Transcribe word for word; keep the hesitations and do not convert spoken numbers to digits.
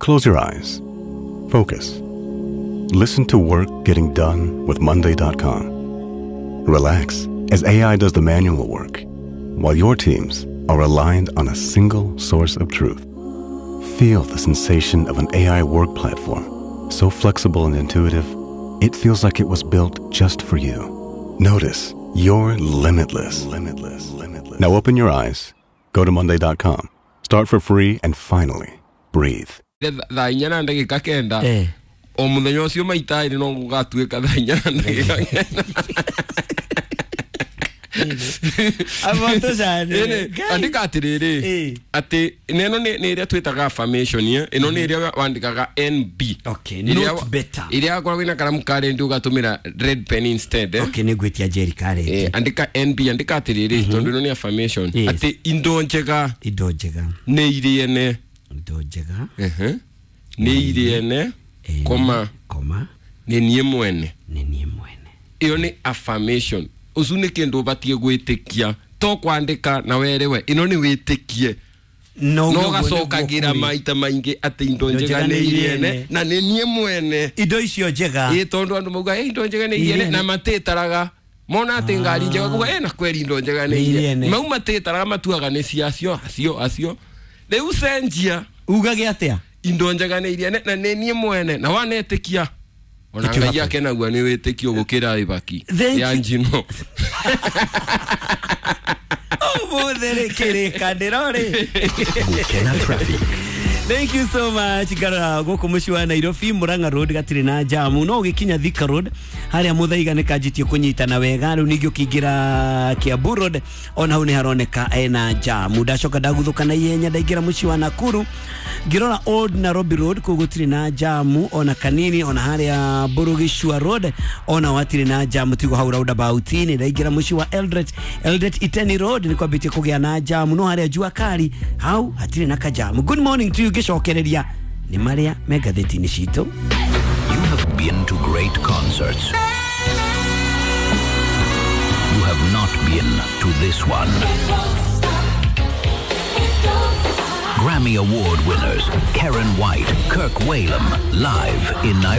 Close your eyes. Focus. Listen to work getting done with Monday dot com. Relax as A I does the manual work, while your teams are aligned on a single source of truth. Feel the sensation of an A I work platform, so flexible and intuitive, it feels like it was built just for you. Notice you're limitless. Limitless. Limitless. Now open your eyes, go to Monday dot com, start for free, and finally breathe. Thaa inya na ndagĩka kenda Eh. o mũthenya ũcio maita ĩrĩ no gũgatuĩka thaa inya na ndagĩka kenda. Abo cyane. Ĩni, andĩka atĩrĩrĩ Eh. atĩ neno nĩ nĩ ĩrĩa twĩtaga affirmation eh? Ĩno nĩ ĩrĩa wandĩkaga N B. Okay, Ĩrĩa not better. Ĩrĩa wakoragwo ĩna karamu ka rendi ũgatũmĩra red pen instead eh? Okay, nĩ ngwĩtia Jerry kareti. Eh, andĩka N B, andĩka atĩrĩrĩ tondũ ĩno nĩ affirmation Yes. atĩ indo njega Indo njega. nĩ irĩene. Indo njega. Ehe. Nĩ irĩene Ene, koma koma nĩ niĩ mwene. nĩ niĩ mwene. Ĩyo nĩ affirmation. Ũcu nĩ kĩndũ ũbatiĩ gwĩtĩkia, to kwandĩka na werewe ĩno nĩ wĩtĩkie No no ũguo nĩguo gacokagĩra kũrĩ. maita maingĩ atĩ indo Indo njega njega nĩ nĩ irĩene irĩene. na nĩ niĩ mwene. Indo icio njega. Ĩ tondũ andũ mauga "Ĩ, indo njega nĩ irĩene" Irĩene. na matĩtaraga mona atĩ ngari njega kuga "Ĩ, na kweri indo njega nĩ Nĩ irĩene." irĩene. Mau matĩtaraga matuaga nĩ cia acio acio acio. Rĩu cenjia Ugage atĩa? Indo njega nĩ irĩene na nĩ niĩ mwene na wanetĩkia ona Ĩtio Ngai happen. akenagua nĩ wĩtĩkio gũkĩra ibaki Thank ya you. njino. Ũmũthĩ rĩ kĩrĩkanĩro rĩ. Gukena traffic. Thank you so much. Ngarora gũkũ mũciĩ wa Nairobi Murang'a Road gatirĩ na jamu no ũgĩkinya Thika Road harĩa Muthaiga nĩ kanjĩtie kũnyitana wega rĩu ningĩ ũkĩingĩra Kiambu Road ona hau nĩ haroneka ena jamu. Ndacoka ndaguthũka na ihenya ndaingĩra mũciĩ wa Nakuru ngĩrora Old Nairobi Road kũu gũtirĩ na jamu ona kanini ona harĩa Burugishua Road ona hatirĩ na jamu tigo hau roundabout-inĩ. Ndaingĩra mũciĩ wa Eldoret, Eldoret Iteni Road nĩ kwambĩtie kũgĩa na jamu no harĩa Jua Kali hau hatirĩ na kajamu. Good morning to you. Ngĩcokereria nĩ marĩa me ngathĩti-inĩ citũ. You have been to great concerts. You have not been to this one. Grammy Award winners Karen White, Kirk Whalum, live in Nairobi.